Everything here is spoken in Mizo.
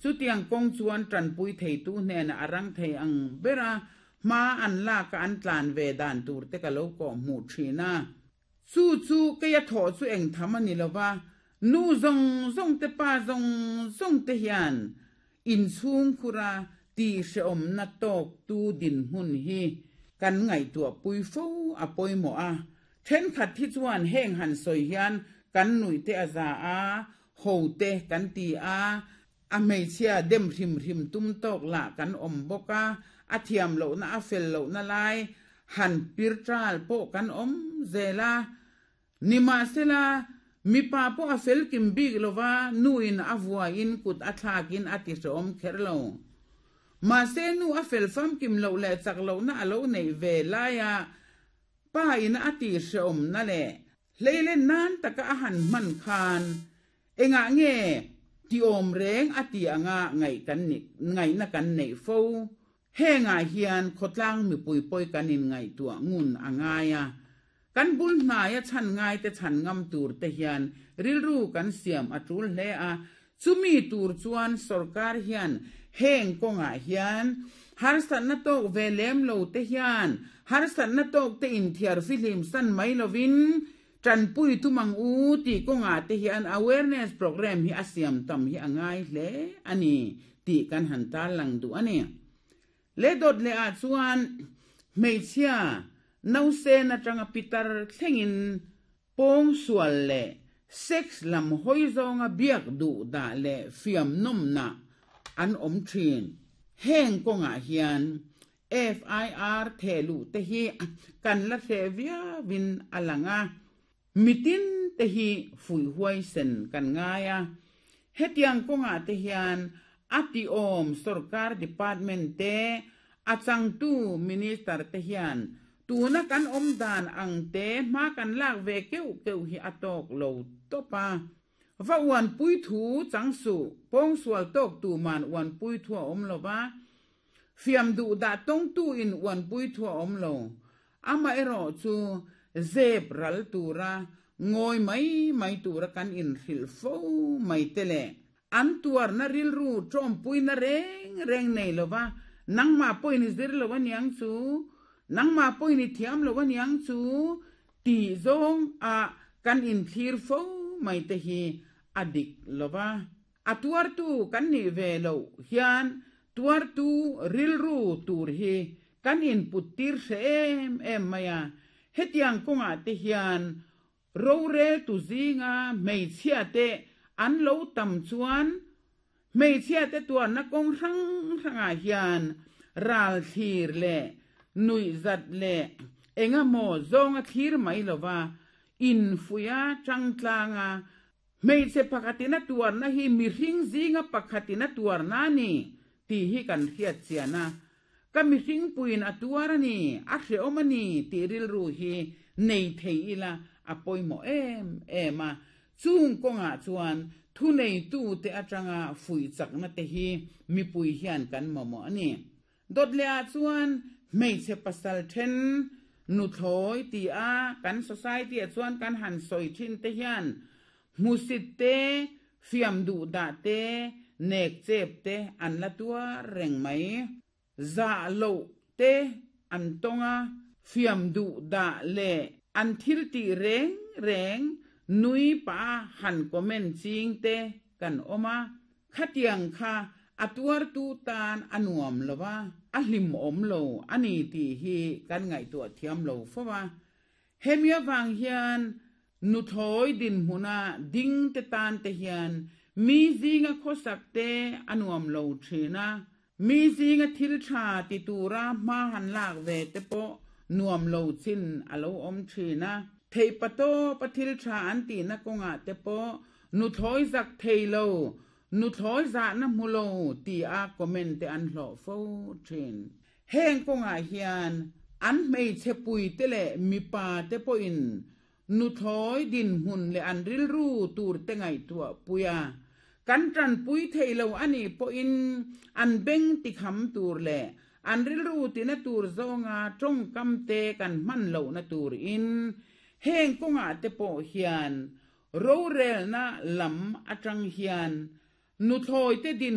Chutiang kawng chuan tanpui theitu hnenah a rang thei ang bera hma an laka an tlan ve dan tur te ka lo kawh hmuh thin a. Chu chu keia thawh chu eng tham a ni lo va, nu zawng zawng te pa zawng zawng te hian inchhungkhura tihhrehawmna tawktu dinhmun hi kan ngaihtuahpui fo a pawimawh a. Thenkhat hi chuan heng han sawi hian kan nuih te a za a, ho te kan ti a, a hmeichhia dem hrim hrim tum tawk lah kan awm bawk a, a thiam lohna a fel lohna lai han pir ṭal pawh kan awm zel a. Nimahsela, mipa pawh a fel kim bik lova nuin a vuaiin kut a thlakin a ti hrehawm kher lo. Mahse nu a fel famkim loh leh chak lohna a lo neih ve laia pa in a ti hrehawmna leh hleilen nan taka a han hman khan engah nge ti awm reng a ti anga ngaih kan ngaihna kan neih fo. Hengah hian khawtlang mipui pawi kan inngaihtuah ngun a ngai a, kan bul hnaia chhan ngaite chhan ngam tur te hian rilru kan siam a tul hle a, chumi tur chuan sorkar hian heng kawngah hian harsatna tawk ve lem lo te hian harsatna tawk te inthiar fihlim san mai lovin tanpui tum ang u tih kawngah te hian awareness programme hi a siam tam hi a ngai hle a ni tih kan han tarlang duh a ni. Le dawt leh ah chuan hmeichhia nausen atanga pitar thlengin pawngsual leh sex lam hawi zawnga biak duh dah leh fiam nawmna an awm thin. Heng kawngah hian FIR thehluh te hi kan la hreh viauin a lang a, mitin te hi fuih huaisen kan ngai a. Hetiang kawngah te hian a tiawm sorkar department te, a changtu minister te hian tuna kan awm dan ang te hma kan lak ve keuh keuh hi a tawk lo tawp a. Va uanpui thu chang suh, pawngsual tawk tuman uanpui thu a awm lo va, Fiam duh dah tawngtu in uanpui thu a awm lo. Amaherawh chu zep ral tura ngawi mai mai tura kan inhrilh fo mai te leh an tuarna rilru tawmpuina reng reng nei lova nangmah pawhin i zir lo aniang chu, nangmah pawhin i thiam lo aniang chu tih zawng ah kan inthlir fo mai te hi a dik lova. A tuartu kan nih ve loh hian tuartu rilru tur hi kan input tir hre em em mai a, hetiang kawngah te hian roreltu zinga hmeichhia te an lo tam chuan hmeichhia te tuarna kawng hrang hrangah hian ral thlir leh nuihzat leh engemaw zawnga thlir mai lova infuiha tangtlanga Hmeichhe pakhatin a tuarna hi mihring zinga pakhatin a tuarna a ni tih hi kan hriat chian a, ka mihring puiin a tuar a ni, a hrehawm a ni tih rilru hi nei thei ila a pawimawh em em a. Chung kawngah chuan thuneitute atanga fuih chakna te hi mipui hian kan mamawh a ni. Dawt leh ah chuan hmeichhe pasal then nuthlawi ti a kan society ah chuan kan han sawi thin te hian hmusit te, fiam duh dah te, nek chep te an la tuar reng mai. Zah loh te an tawng a, fiam duh dah leh an thil tih reng reng nui pah a han comment ching te kan awm a, Khatiang kha a tuartu tan a nuam lo a, a hlimawm lo a ni tih hi kan ngaihtuah thiam lo fo a. Hemi avang hian nuthlawi dinhmuna ding te tan te hian mi zinga khawsak te a nuam lo thin a, mi zinga thil tha ti tura hma han lak ve te pawh nuam lo chin a lo awm thin a. Theihpatawp a thil tha an tihna kawngah te pawh Nuthlawi zak thei lo, nuthlawi zahna hmu lo ti a comment te an hlawh fo thin. Heng kawngah hian an hmeichhe puite leh mipa te pawhin nuthlawi dinhmun leh an rilru tur te ngaihtuah pui a, kan tanpui thei lo a nih pawhin an beng tikham tur leh an rilru tina tur zawnga tawngkam te kan hman lohna tur in heng kawngah te pawh hian Rorelna lam atang hian nuthlawi te dinhmun.